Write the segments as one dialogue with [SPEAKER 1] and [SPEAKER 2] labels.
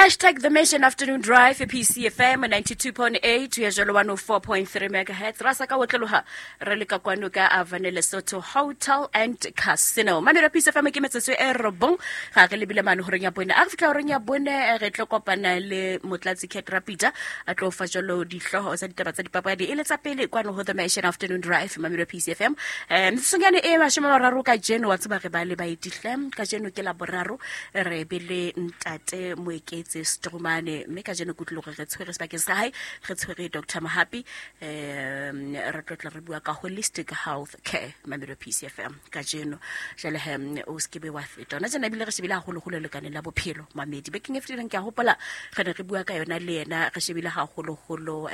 [SPEAKER 1] Hashtag The Mission Afternoon Drive, PCFM 92.8 ya jalo 104.3 megahertz. Ra sa ka otloloha re le ka kwano ka Avane Lesotho Hotel and Casino. Mamelo PCFM ke metsotso e robong ga re lebile mane horeng ya bone. A re fihla horeng ya bone re tlo kopana le Motlatsi Cat Rapita a tlo fa jalo dihlooho tsa ditaba tsa dipapadi e le tsa pele kwano ho The Mission Afternoon Drive, Mamelo PCFM. Metsotsonyane e 30 kajeno wa tseba re ba le baetihle kajeno ke la boraro re be le ntate Moeketse Stromane mme kajeno ke utlwile gore re tshwere sebakeng sa hae re tshwere Dr. Mohapi, re tlo tla re bua ka holistic health care, Mamelo PCFM kajeno. Jwale he o se ke be wa feta ona tjena, ebile re shebile haholoholo lekaneng la bophelo mamedi. Bekeng e fetileng ke a hopola re ne re bua ka yona le yena, re shebile haholoholo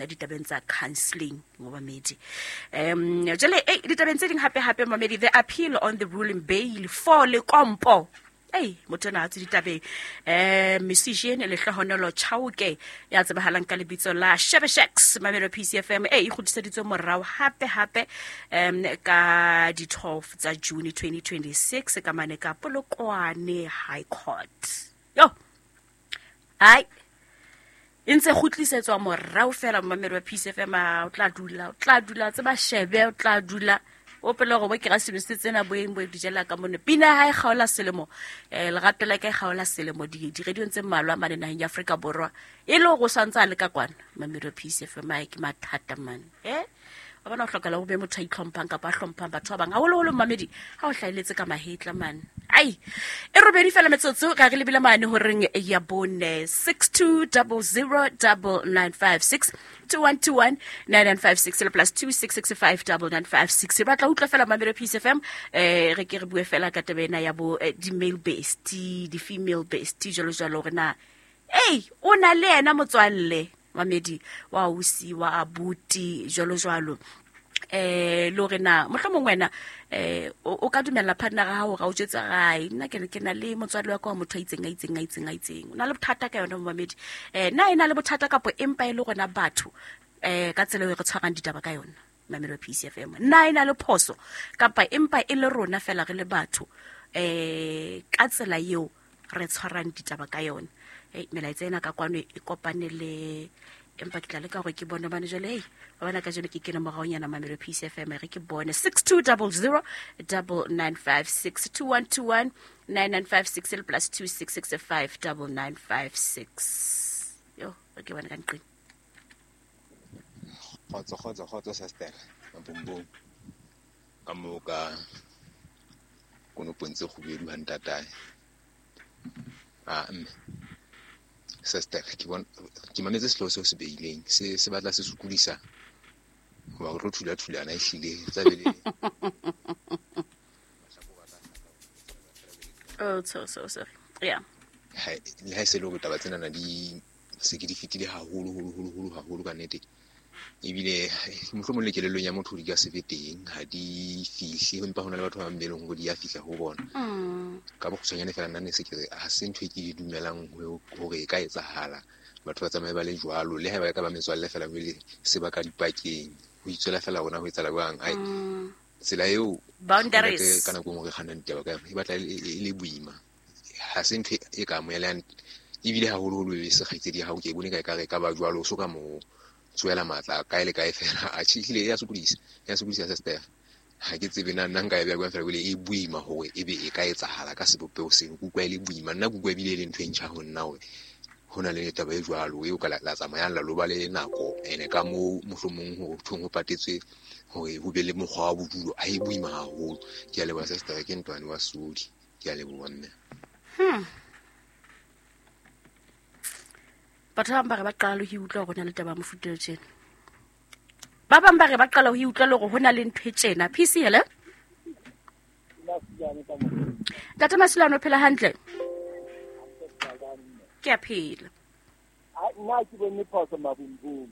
[SPEAKER 1] ditabeng tsa counseling mamedi. Jwale ditabeng tse ding hape hape mamedi, the appeal on the ruling bail for Lekompo. Ei, motho ena ha tswe ditabeng. Musician Lehlohonolo Chauke ya tsebahalang ka lebitso la Shebeshxt, Mamelo PCFM e kgutliseditswe morao hape hape ka di 12 tsa June 2026 ka mane ka Polokwane High Court. Yo. Ai. E ntse kgutlisetswa morao fela Mamelo wa PCFM, o tla dula, o tla dula tseba shebe, o tla dula o pele gore bo ke ga selo se tsena boeng bo dijela ka mone. Pina ha e kgaola selemo, lerato la ka e kgaola selemo di-radiong tse mmalwa mane naheng ya Afrika Borwa e le gore o santse a le ka kwana. Mamelo PCFM ae ke mathata mane. Wa bona o hlokala ho be motho a itlhomphang kapa a hlomphang batho ba bang, haholoholo mamedi ha o hlahelletse ka mahetla mane. Ai, e robedi fela metsotso ga re lebile mane horeng ya bone. 6200 9956 2121 9956 le plus 2665 9956. Re batla utlwa fela Mamelo PCFM, re ke re bue fela ka taba ena ya bo di-male bestie, di-female bestie jwalo jwalo, hore na ei o na le yena motswalle mamedi wa ausi wa abuti jwalo jwalo, le hore na mohlomong wena o ka dumella partner ya hao hore a o jwetse gae nna ke na le motswadi wa ka wa motho a itseng a itseng a itseng a itseng, o na le bothata ka yona momamedi, na e na le bothata kapo empa e le rona batho ka tsela eo re tshwarang ditaba ka yona Mamelo PCFM, na e na le phoso kapa empa e le rona fela re le batho ka tsela eo re tshwarang ditaba ka yona. Melaetsa ena ka kwano e kopane le empa ke tla leka hore ke bone bane jwale. Hey, wa bona kajeno ke kene moraonyana Mamelo PCFM, re ke bone 6200 9956 2121 9956 le plus 2665 9956. Yo, re ke bone ka nqeng.
[SPEAKER 2] Kgotso kgotso kgotso sister, mabumbung ka moo ka konopong tse kgubedu ha ntatae. Mme sister, ke bona ke mametse sehlooho seo se beileng se batla se sokodisa hoba re tlo thula thulana ehlile tla be le
[SPEAKER 1] Oh, so so sorry. Yeah.
[SPEAKER 2] Le ha e se le hore taba tsenana di se ke di fetile haholo holo holo holo haholo ka nnete, ebile mohlomong le kelellong ya motho di ka se be teng, ha di fihle, empa hona le batho ba bang be leng hore di a fihla ho bona. Ka bokgutshwanyane fela nna ne se ke re ha se ntho e ke di dumelang hore e ka etsahala, batho ba tsamaye ba le jwalo, le haeba e ka ba metswalle fela jwale se ba ka dipakeng ho itswela fela rona ho etsahala jwang. Ai, tsela eo
[SPEAKER 1] boundaries
[SPEAKER 2] ka nako e nngwe re kgannang ditaba ka yona e batla e le boima, ha se ntho e ka amohelang, ebile haholoholo e se kgaitsedi ya hao, ke e bone ka ekare e ka ba jwalo, o so ka mo tswela matla kae le kae fela. Atjhe, ehlile ya sokodisa, ya sokodisa sister. Ha ke tsebe na nna nka e beha jwang fela, ebile e boima hore ebe e ka etsahala ka sebopeho seno. Ke utlwa e le boima, nna ke utlwa ebile e le ntho e ntjha ho nna hore ho na le taba e jwalo eo ka la tsamayang la lo ba le nako ene ka moo mohlomong ho thong ho patetswe hore ho be le mokgwa wa bodulo. Ha e boima haholo. Ke a leboha sister, ke ntwane wa Sodi. Ke a leboha mme.
[SPEAKER 1] Batho ba bang ba re ba qala ho utlwa hore ho na le taba ya mofuta o tjena. Ba bang ba re ba qala ho utlwa le hore ho na le ntho e tjena. PC, hello? Ntate Masilwane, o phela hantle? Ke a phela.
[SPEAKER 3] Nna ke bone phoso mabumbung.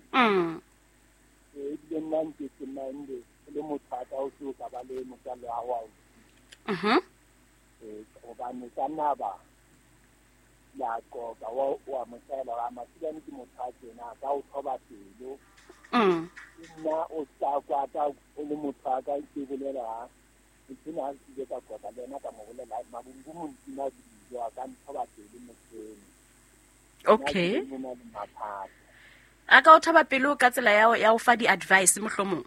[SPEAKER 3] Ebile nna nke ke mande le motho a ka o se o ka ba le motswalle wa hao. Hobane ka nna ba la qoqa wa motswalle wa Masilwane ke motho a tjena, ka o thoba pelo. Nna o tla kwata o le motho a ka ke bolela ha ke na ke ile ka qoqa le yena ka mo bolela mabumbung ntima dijo a ka nthoba pelo motho eno.
[SPEAKER 1] Okay. A ka o thaba pelo ka tsela ya o fa di-advice mohlomong?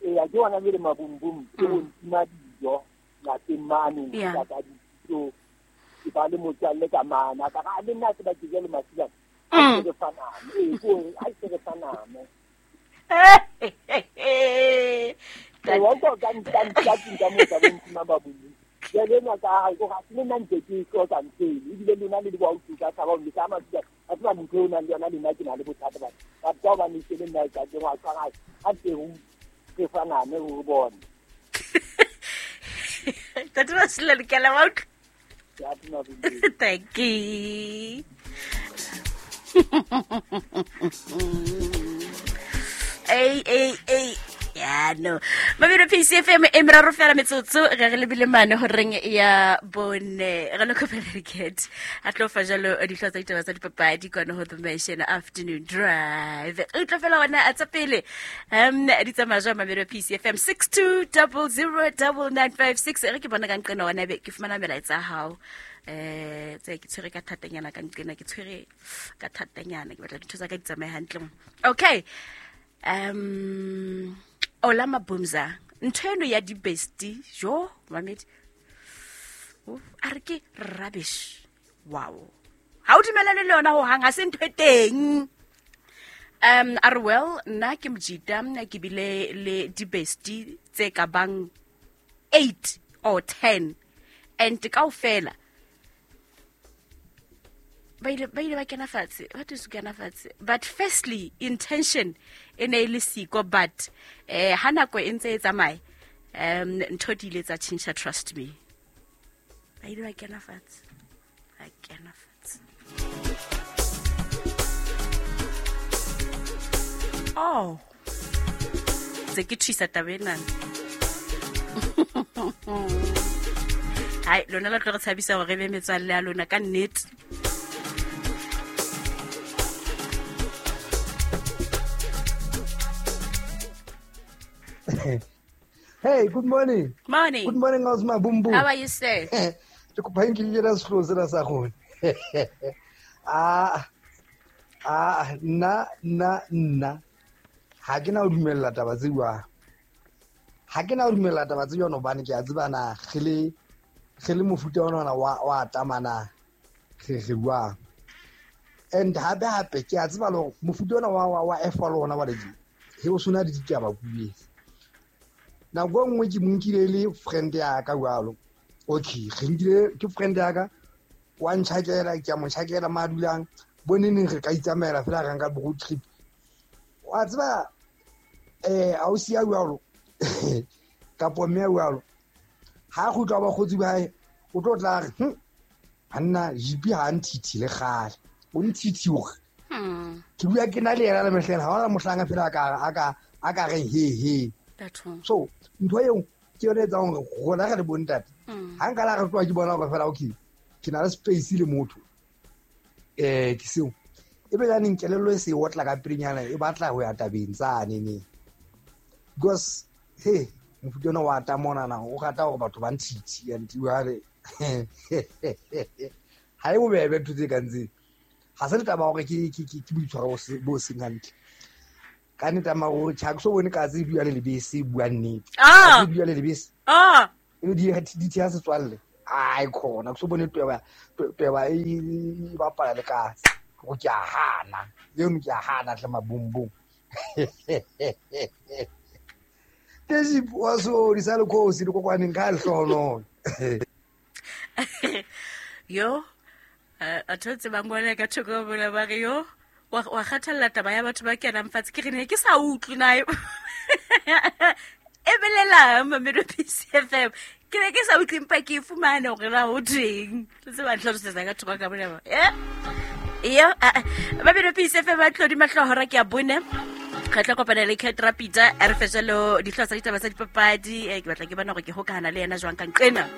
[SPEAKER 3] Eya, ke ona jwale mabumbum, ke ho ntima dijo lapeng mane, ka dijo, ke ba le motswalle ka mana, ka re le nna tseba ke jele Masilane. A se re faname, ee, ke hore a se re faname. Wa utlwa ka nka moo ka bo ntima mabumbum. Jwale enwa ka hae, o ga se le nna ntse ke hloka ntho eno, ebile lona le di ba utlwe ka tshaba hore le ka Masilane. A tseba motho eo o nang le yona, le nna ke na le bothata ba. Batho ka hobane se le nna e ka ke ngwa tshwara, a teng re faname ho bone.
[SPEAKER 1] Ntate Masilane, ke a leboha utlwa.
[SPEAKER 3] Ke a tuma bontsi.
[SPEAKER 1] Thank you. Ei, ei, ei. Ya, no. Mabelo PCFM e meraro fela metsotso ge re lebile mane horeng ya bone. Re le kopela diket. A tlo fa jalo dihlooho tsa ditaba tsa dipapadi kwana ho The Nation Afternoon Drive. Re tlo fela ona a tsa pele. Di tsamaya jwang Mabelo PCFM 62009956. Re ke bona ka nqena ona be ke fumana melaetsa ya hao. Tse ke tshwere ka thatanyana ka nqena, ke tshwere ka thatanyana, ke batla dintho tsa ka di tsamaye hantle. Okay. Ola Mabumza, ntho eno ya di-bestie, jo, mamedi. A re ke rubbish. Wow. Ha o dumellane le yona hohang, ha se ntho e teng. A re, well, nna ke mojita, nna ke bile le di-bestie tse ka bang 8 or 10, and kaofela ba ile ba kena fatshe, ba thuso kena fatshe. But firstly, intention e ne e le siko, but ha nako e ntse e tsamaya, ntho di ile tsa tjhentjha, trust me. Ba ile ba kena fatshe, ba kena fatshe. Oh, tse ke thusa taba ena. Hai, lona la tlo re tshabisa hore re be metswalle ya lona ka nnete.
[SPEAKER 4] Hey, good morning.
[SPEAKER 1] Morning.
[SPEAKER 4] Good morning, Osma Bumbu.
[SPEAKER 1] How are you, sir?
[SPEAKER 4] Ke kopa nke ke ra sekolo sena sa gone. Nna nna nna ha ke na ho dumella taba tse jwang. Ha ke na ho dumella taba tse jwang hobane ke a tseba na re le mofuta ona wa tamana re jwang. And hape hape ke a tseba le hore mofuta ona wa F wa lona wa ledi. He o sona ditaba kuetse. Nako e nngwe ke mo nkile le friend ya ka jwalo. Okay, re nkile ke friend ya ka, wa ntjhakela, ke a mo tjhakela ma dulang, bo neneng re ka itsamaela fela re nka road trip. Wa tseba ausi ya jwalo kapo mme ya jwalo, ha kgutla ba kgotsi ba hae, o tlo tla re, hanna GP ha nthithi le kgale, o nthithi hore. Ke bua ke na le yena le mehleng, ha hona mohlanga fela a ka reng he he. So ntho eo ke yone e etsang hore rona re le bontate, ha nka la re tloha ke bona hore fela okay, ke na le space le motho, ke seo. Ebe jaanong kelello e se e otla ka pelenyana, e batla ho ya tabeng tsane ne. Because he mofuta ona wa ta monana, o rata hore batho ba nthithi, and jwale ha e bobebe ntho tse kang tseo. Ha se le taba hore ke boitshwaro bo seng hantle. Ka nnete maro tjha ke so bone ka tse bua le lebese, bua nnete. Ka tse bua le lebese. E di theha setswalle. Ai khona ke so bone tweba e bapala le katse. Go ke a hana. Eno ke a hana tle mabumbung. Tesi wa so di sa le khosi le kokwaneng ka lehlohonolo.
[SPEAKER 1] Yo, a thotse ba ngwana ka thoko bona ba re yo, wa kgathalla taba ya batho ba kenang fatshe, ke re ne ke sa utlwe na. E belela Mamelodi PCFM. Ke ne ke sa utlwe empa ke e fumane hore na ho thweng. Le tseba ntlhalosetsa ka thoko ka bona ba. Yo, Mamelodi PCFM ba tlodi mahlo hora ke a bone. Re tla kopana le Cat Rapida, a re fe jalo dihlooho tsa ditaba tsa dipapadi. Ke batla ke bona hore ke hokahana le yena jwang ka nqena.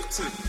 [SPEAKER 5] Two.